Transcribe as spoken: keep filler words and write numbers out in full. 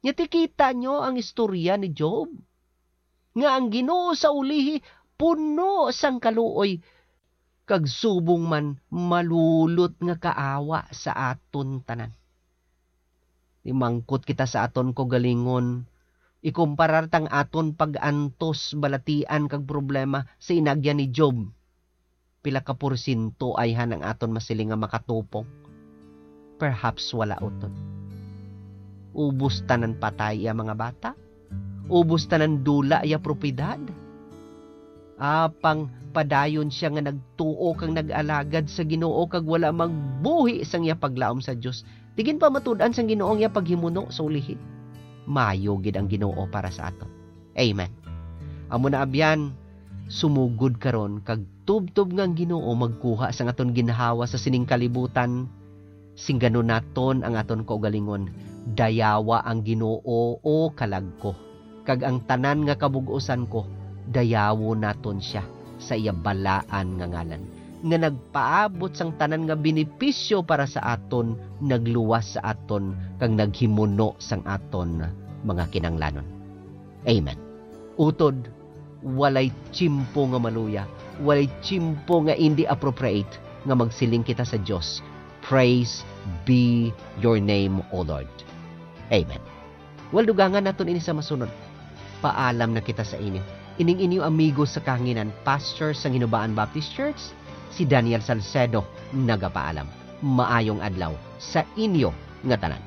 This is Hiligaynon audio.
Nya ti kita nyo ang istorya ni Job, nga ang Ginoo sa ulihi puno sang kaluoy, kag subong man malulot nga kaawa sa aton tanan. Imangkot kita sa aton kaugalingon, ikumparar tang aton pag-antos, balatian, kag problema sa inagyan ni Job. Pila ka porsyento ayhan ang aton masiling nga makatupok? Perhaps wala utod. Ubos tanan patay iya mga bata? Ubos tanan dula iya propiedad? Apang padayon sia nga nagtuo kag nag-alagad sa Ginoo kag wala magbuhi sang iya paglaom sa Dios. Di gid pamatud-an sang Ginoo ang iya paghimuno sa ulihi. Maayo gid ang Ginoo para sa aton. Amen. Amo na, abyan, sumugod karon kag tubtob nga ang Ginoo magkuha sang aton ginhawa sa sining kalibutan. Singganon naton ang aton kaugalingon, "Dayawa ang Ginoo, o kalag ko, kag ang tanan nga kabug-usan ko, dayawon naton sia sa iya balaan nga ngalan, nga nagpaabot sang tanan nga benepisyo para sa aton, nagluwas sa aton, kag naghimuno sang aton mga kinahanglanon." Amen. Utod, walay tiyempo nga maluya, walay tiyempo nga indi appropriate nga magsiling kita sa Dios, "Praise be your name, O Lord." Amen. Well, dugangan naton ini sa masunod. Paalam na kita sa inyo. Ining inyo amigo sa kahanginan, pastor sang Hinubaan Baptist Church, si Daniel Salcedo, nagapaalam. Maayong adlaw sa inyo nga tanan.